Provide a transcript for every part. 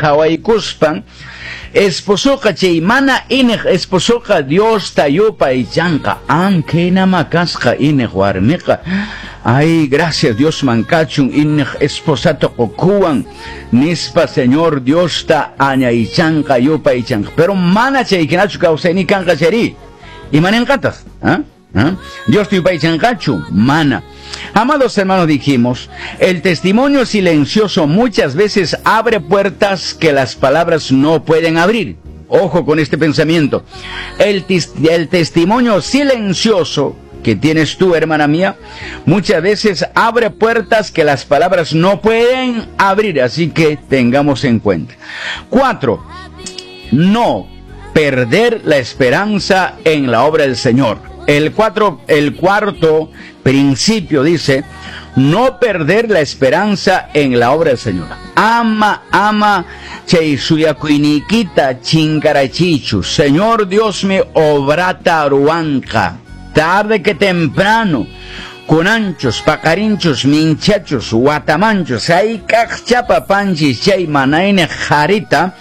qhawaykuspan esposoqa chay mana iniq esposoqa Diosta yupaychanqa. Ankaynama kasqa iniq warmiqa. Ay, gracias Diosman kachun iniq esposata qukuwan nispa Señor Diosta añaychanqa yupaychanqa. Pero mana chaykinachu kawsayni kanqa chayri. Imaninqataq? ¿Ah? ¿Ah? Diosta yupaychanqachu? Mana. Amados hermanos, dijimos, el testimonio silencioso muchas veces abre puertas que las palabras no pueden abrir. Ojo con este pensamiento. El testimonio silencioso que tienes tú, hermana mía, muchas veces abre puertas que las palabras no pueden abrir. Así que tengamos en cuenta. 4, no perder la esperanza en la obra del Señor. El cuarto principio dice, no perder la esperanza en la obra del Señor. Ama, ama, chay suyakuyniykita chinkarachichu. Señor Dios me obrata ruanqa. Tarde que temprano, kunanchus, paqarinchus, minchachus, watamanchus, hayk'aq panchis chay manayni qharita,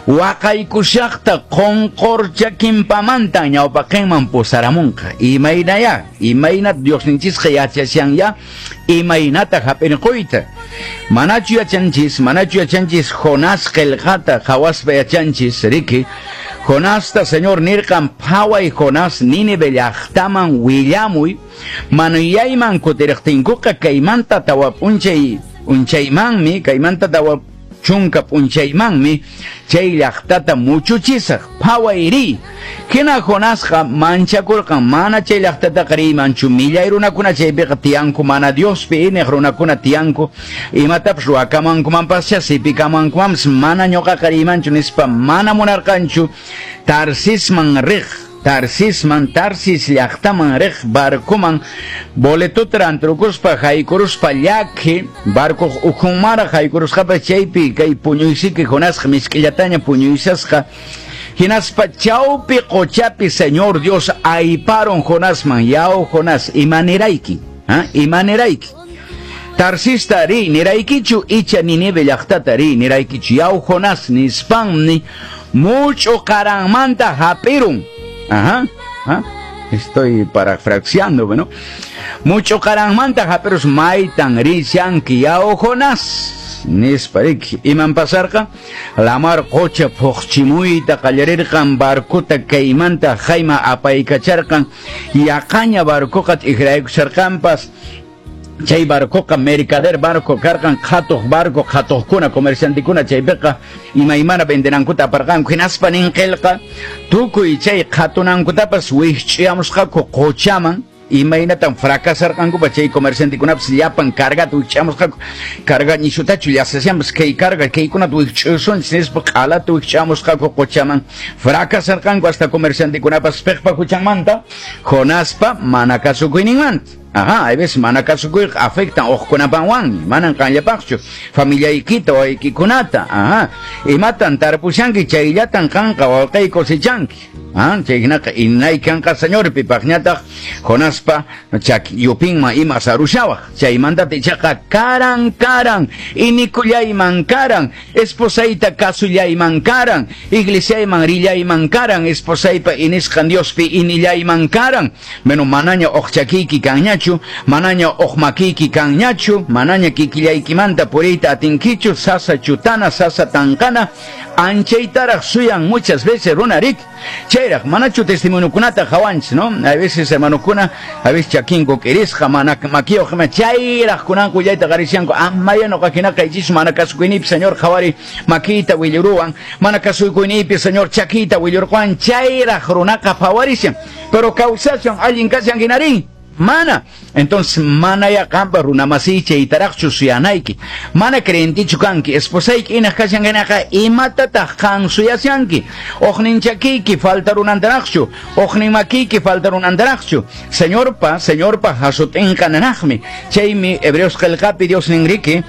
waqaykushaqta qonqorchakinpamanta ñawpaqinman pusaramunqa. Imaynaya, imayna Diosninchisqa yachashan imaynata hap'irquyta. Manachu yachanchis Jonás qillqata qhawaspa yachanchis, riki. Jonasta Señor nirqan phaway Jonás Nínive llaqtaman willamuy, manuyayman kutiriqtinkuqa kaymanta tawa p'unchay unchaymanmi, kaymanta tawa chunka p'unchaymanmi chay llaqtata muchuchisaq phaway riy. Hina Jonasqa manchakurqan mana chay llaqtataqa riymanchu, millay runakuna chaypiqa tiyanku, mana Diospi iniq runakuna tiyanku, imatapas ruwakamankumanpascha sipikamankumanpas mana ñuqaqa riymanchu nispa mana munarqanchu. Tarsisman riq, Tarsisman, Tarsis llaqtaman riq barcoman boletota rantrukuspa haykuruspa llaki barcoq ukhunmaraq haykurusqapas chaypi kay puñuysiki Jonasqa misk'illataña puñuysasqa. Hinaspa chawpi qochapi Señor Dios ayparon Jonasman, yaw Jonás, imanirayki, ¿ah? Imanirayki. Tarsista ri niraykichu icha Nínive llaqtata ri niraykichu, yaw Jonás nispanmi mucho qaranmanta hap'irun. Ajá, ajá. Estoy parafraseando, bueno. Mucho qaranmanta hap'irus maytan rishanki yaw Jonás. Nispa riki. Iman pasarqa? Lamar qocha phuqchimuyta qallarirqan, barcota kaymanta hayma apaykacharqan, yaqaña barcoqa t'ikraykusharqanpas. Chay barcoqa mercader barco karqan, qhatuq barco, qhatuqkuna, comerciantekuna chaypiqa imaymana vendenankuta aparqanku. Hinaspa nin qillqa tukuy chay qhatunankutapas wikch'iyamusqaku qochaman. Imaynatan fracasarqankupas chay comerciantekunapas llapan cargata wikch'amusqaku, carga nishutachu llasashanpas kay carga kaykunata wikch'usunchis nispa q'alata wikch'amusqaku qochaman. Fracasarqanku hasta comerciantekunapas piqpa huchanmanta, Jonaspa mana kasukuyninmanta. Ajá, hay veces mana kasukuyqa afectan uqkunapanwanmi, manan qanllapaqchu, familiaykita wawaykikunata. Ajá, imatan tarpushanki chayllatan qanqa wawqay cosechanki. Ah, chayhinaqa inaykanqa Señorpi paqñataq Jonaspa yupinman ima sarushawaq. Chaymantata ichaqa karan karan, inikullayman karan, esposayta kasullayman karan, iglesiayman rillayman karan, esposaypa inisqan Diospi inillayman karan. Bueno, manaña uqchakiyki kanñachu, manaña uqmakiyki kanñachu, manaña kikillaykimanta puriyta atinkichu, sasa chutana, sasa tanqana, anchaytaraq suyan muchas veces runarik. Chayraq manachu testimoniokunata qhawanchis, ¿no? A veces hermanokuna, a veces chakinku k'irisqa, mana makiyuq ima chayraq kunanku willayta qarishanku, amaya nuqa hinaqa ichichu mana kasukuynipi Señor qhawari makiyta willuruwan, mana kasukuynipi Señor chakiyta willurquwan, chayraq runaqa phawarishan, pero kawsashan allin kashan hinarin. Mana. Entonces, mana ya qampa runamasiy chaytaraqchu suyanayki. Mana creyentichu kanki, esposayki inaq kashan hinaqa imatataq qan suyashanki. Uqnin chakiyki falta runantaraqchu, uqnin makiyki falta runantaraqchu. Señorpa, Señorpa hasut'inqa nanaqmi. Chaymi Hebreos qillqapi Dios ninriki,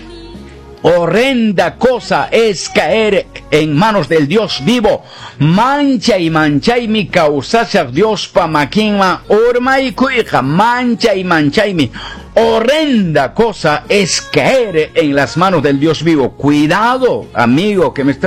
horrenda cosa es caer en manos del Dios vivo. Mancha y manchaymi kawsashaq Diospa makinman urmaykuyqa. Mancha y manchaymi. Horrenda cosa es caer en las manos del Dios vivo. Cuidado, amigo que me está